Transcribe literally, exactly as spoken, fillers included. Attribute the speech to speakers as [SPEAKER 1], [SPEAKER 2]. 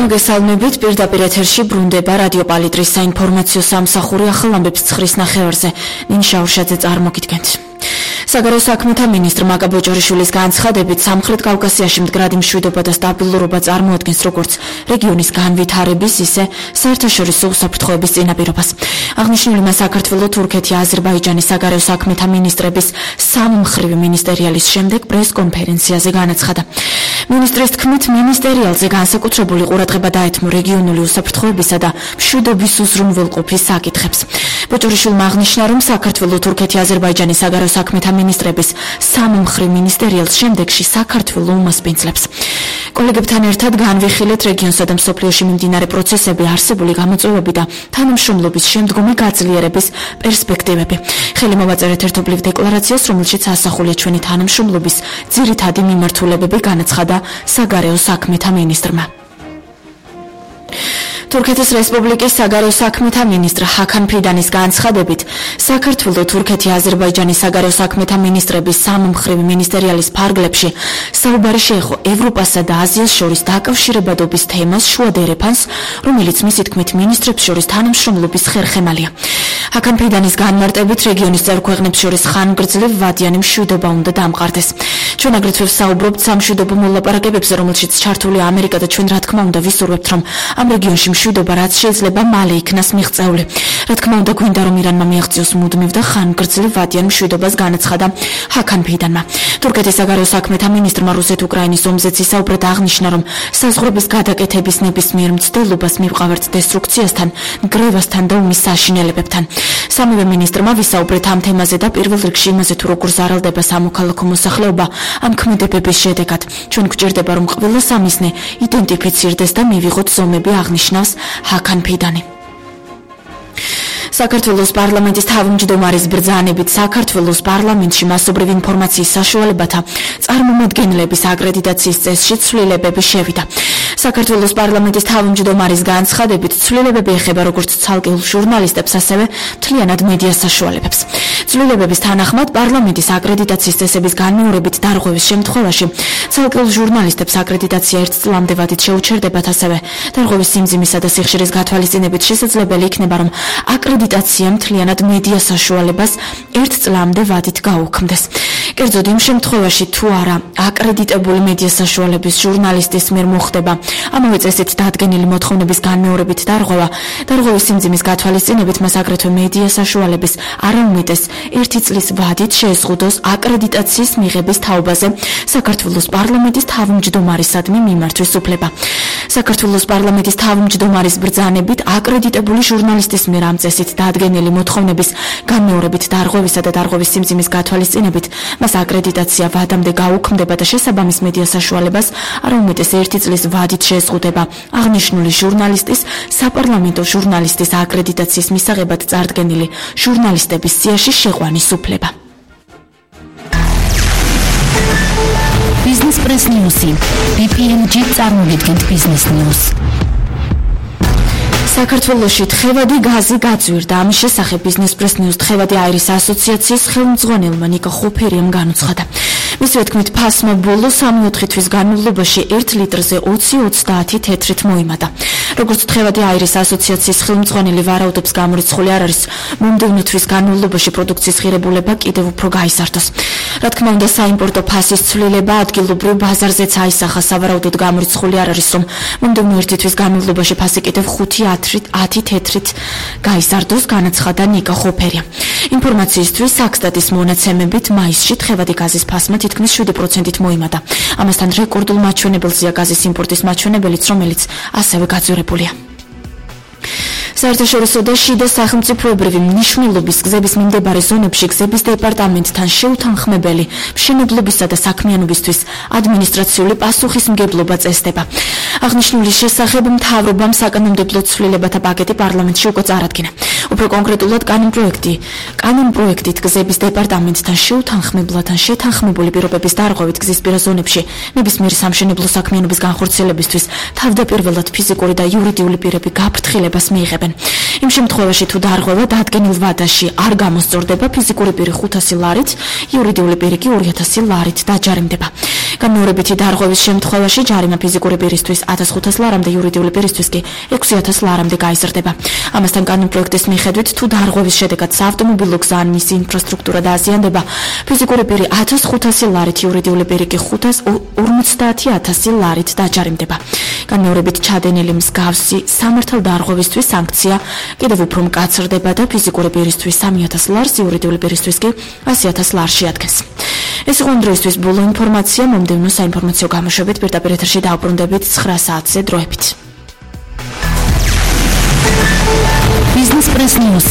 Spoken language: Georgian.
[SPEAKER 1] მოგესალმებით, პირდაპირ ეთერში ბრუნდება რადიო პალიტრის საინფორმაციო სამსახური ახალ ამბებს ცხრის ნახევარზე. ნინშა ურშაძე წარმოგიდგენთ. საგარეო საქმეთა მინისტრ მაკა ბოჭორიშვილის განცხადებით სამხრეთ კავკასიაში მდგრადი მშვიდობა და სტაბილურობა წარმოადგენს როგორც რეგიონის განვითარების, ისე საერთაშორისო უსაფრთხოების წინაპირობას. აღნიშნული მას საქართველო, თურქეთი, აზერბაიჯანის საგარეო საქმეთა მინისტრების სამმხრივი მინისტერიალის შემდეგ პრეს-კონფერენციაზე განაცხადა. მინისტრის თქმით, მინისტერიალზე განსაკუთრებული ყურადღება დაეთმო რეგიონული უსაფრთხოებისა და მშვიდობის უზრუნველყოფის საკითხებს. ბოჭორიშვილმა აღნიშნა, რომ საქართველო, თურქეთი, აზერბაიჯანის საგარეო საქმეთა მინისტრების სამმხრივ მინისტერიალს შემდეგში საქართველო უმასპინძლებს. კოლეგებთან ერთად განვიხილეთ რეგიონსა და მსოფლიოში მიმდინარე პროცესები, არსებული გამოწვევები და თანამშრომლობის შემდგომი გაძლიერების პერსპექტივები. ხელი მოვაწერეთ ერთობლივ დეკლარაციას, რომელშიც ასახულია ჩვენი თანამშრომლობის ძირითადი მიმართულებები, განაცხადა საგარეო საქმეთა მინისტრმა. თურქეთის რესპუბლიკის საგარეო საქმეთა მინისტრ ჰაკან ფიდანის განცხადებით, საქართველო, თურქეთი, აზერბაიჯანის საგარეო საქმეთა მინისტრების სამმხრივი მინისტერიალის ფარგლებში საუბარი შეეხო ევროპასა და აზიას შორის დაკავშირებადობის თემას, შუა დერეფანს, რომელიც მისი თქმით მინისტრებს შორის თანამშრომლობის ხერხემალია. ჰაკან ფიდანის განმარტებით, რეგიონის წევრ ქვეყნებს შორის ხანგრძლივ ვადიანი მშვიდობა უნდა დამყარდეს. ჩვენ აგრეთვე ვსაუბრობთ სამშვიდობო მოლაპარაკებებზე, რომელშიც ჩართულია ამერიკა და ჩვენ რა თქმა უნდა ვისურვებთ, რომ ამ რეგიონში მშვიდობა რაც შეიძლება მალე იქნას მიღწეული. რა თქმა უნდა, გვინდა რომ ირანმა მიაღწიოს მუდმივ და ხანგრძლივ ვადიან მშვიდობას, განაცხადა ჰაკან ფიდანმა. თურქეთის საგარეო საქმეთა მინისტრმა რუსეთ-უკრაინის ომზეც ისაუბრად აღნიშნა, რომ საზღვრების გადაკეთების ნებისმიერ მცდელობას მივყავართ დესტრუქციასთან, ნგრევასთან და ომის საშინელებებთან. სამივე მინისტრმა ვისაუბრეთ ამ თემაზე და პირველ რიგში იმაზე, თუ როგორ ზარალდება სამოქალაქო მოსახლეობა ამ ქმედებების შედეგად. ჩვენ გვჭირდება, რომ ყველა სამიზნე იდენტიფიცირდეს და მივიღოთ ზომები, აღნიშნავს ჰაკან ფიდანი. საქართველოს პარლამენტის თავმჯდომარის ბრძანებით საქართველოს პარლამენტში მასობრივი ინფორმაციის საშუალებათა წარმომადგენლების აკრედიტაციის წესში ცვლილებები შევიდა. საქართველოს პარლამენტის თავმჯდომარის განცხადებით, ცვლილებები ეხება როგორც ცალკეულ ჟურნალისტებს, ასევე მთლიანად მედიას საშუალებებს. ცვლილებების თანახმად, პარლამენტის აკრედიტაციის წესების განმეორებით დარღვევის შემთხვევაში ცალკეულ ჟურნალისტებს აკრედიტაცია ერთ წლამდე ვადით შეუჩერდებათ, ასევე დარღვევის სიმძიმისა და სიხშირის გათვალისწინებით შესაძლებელი იქნება, რომ აკრედიტაცია მთლიანად მედიას საშუალებას ერთ წლამდე ვადით გაუქმდეს. კერძოდ იმ შემთხვევაში, თუ არა აკრედიტებული მედიას საშუალების ჟურნალისტის მიერ მოხდება ამავე წესით დადგენილი მოთხოვნების განმეორებით დარღვევა, დარღვევის სიმძიმის გათვალისწინებით მას აგრეთვე მედიას საშუალების არაუმეტეს ერთი წლის ვადით შეეზღუდოს აკრედიტაციის მიღების თაობაზე საქართველოს პარლამენტის თავმჯდომარისადმი მიმართვის უფლება. საქართველოს პარლამენტის თავმჯდომარის ბრძანებით აკრედიტებული ჟურნალისტის მიერ ამ წესით დადგენილი მოთხოვნების განმეორებით დარღვევისა და დარღვევის სიმძიმის გათვალისწინებით მას აკრედიტაცია ვადამდე გაუქმდება და შესაბამის მედიას საშუალებას არაუმეტეს ერთი წლის ვადით შეეზღუდება აღნიშნული ჟურნალისტის საპარლამენტო ჟურნალისტის აკრედიტაციის მისაღებად წარდგენილი ჟურნალისტების სიაში შეყვანის უფლება.
[SPEAKER 2] Business Press News-ი ბი პი ენ ჯი წარმოგიდგენთ Business News.
[SPEAKER 1] საქართველოში თხევადი გაზი გაძვირდა. ამის შესახებ Business Press News თხევადი აირის ასოციაციის ხელმძღვანელმა ნიკა ხუფერიამ განუცხადა. მისივე თქმით, ფასმა ბოლო სამი-ოთხი თვის განმავლობაში ერთ litrზე ოცი ოცდაათი თეთრით მოიმატა. როგორც თხევადი აირის ასოციაციის ხელმძღვანელი ვარაუდობს, გამორიცხული არ არის მომდევნო თვის განმავლობაში პროდუქციის ღირებულება კიდევ უფრო გაიზარდოს. რა თქმა უნდა, საიმპორტო ფასის ცვლილება ადგილობრივ ბაზარზეც აისახა. სავარაუდოდ გამორიცხული არ არის, რომ მომდევნო ერთი თვის განმავლობაში ფასი კიდევ ხუთი ათი თეთრით გაიზარდოს, განაცხადა ნიკა ხუფერია. ინფორმაციისთვის საქსტატის მონაცემებით მაისში თხევადი გაზის ფასმა თითქმის შვიდი პროცენტით მოიმატა. ამასთან რეკორდულ მაჩვენებელზეა გაზის იმპორტის მაჩვენებელიც, რომელიც ასევე გაძვირებულია. საერთაშორისო და შიდა სახელმწიფოებრივი მნიშვნელობის გზების მიმდებარე ზონებში გზების დეპარტამენტთან შეუთანხმებელი მშენებლობისა და საქმიანობისთვის ადმინისტრაციული პასუხისმგებლობა წესდება. აღნიშნული შესახებ მთავრობამ საკანონმდებლო ცვლილებათა პაკეტი პარლამენტში უკვე წარადგინა. უფრო კონკრეტულად კანონპროექტი კანონპროექტით გზების დეპარტამენტთან შეუთანხმებლად ან შეთანხმებული პირობების დარღვევით გზისპირა ზონებში ნებისმიერი სამშენებლო საქმიანობის განხორციელებისთვის თავდაპირველად ფიზიკური და იურიდიული პირები გაფრთხილებას მიიღებენ. იმ შემთხვევაში, თუ დარღვევა დადგენილ ვადაში არ გამოსწორდება, ფიზიკური პირი ხუთასი ლარით, იურიდიული პირი კი ორი ათასი ლარით დაჯარიმდება. განმეორებითი დარღვევის შემთხვევაში ჯარიმა ფიზიკური პირისთვის ათას ხუთას ლარამდე, იურიდიული პირისთვის კი ექვსი ათას ლარამდე გაიზრდება. ამასთან კანონპროექტის მიხედვით, თუ დარღვევის შედეგად საავტომობილო გზა ან მისი ინფრასტრუქტურა დააზიანდება, ფიზიკური პირი ათას ხუთასი ლარით, იურიდიული პირი კი ხუთას ორმოცდაათი ათასი ლარით დაჯარიმდება. განმეორებით ჩადენილი მსგავსი სამართალ დარღვევისთვის სანქცია კიდევ უფრო მკაცრდება და ფიზიკური პირისთვის სამი ათას ლარს, იურიდიული პირისთვის კი ასი ათას ლარს შეადგენს. ეს იყო ამ დროისთვის ბოლო ინფორმაცია. მომდევნო საინფორმაციო გამოშვებით პირდაპირ ეთერში დაუბრუნდებით ცხრა საათზე დროებით.
[SPEAKER 2] Business Press News.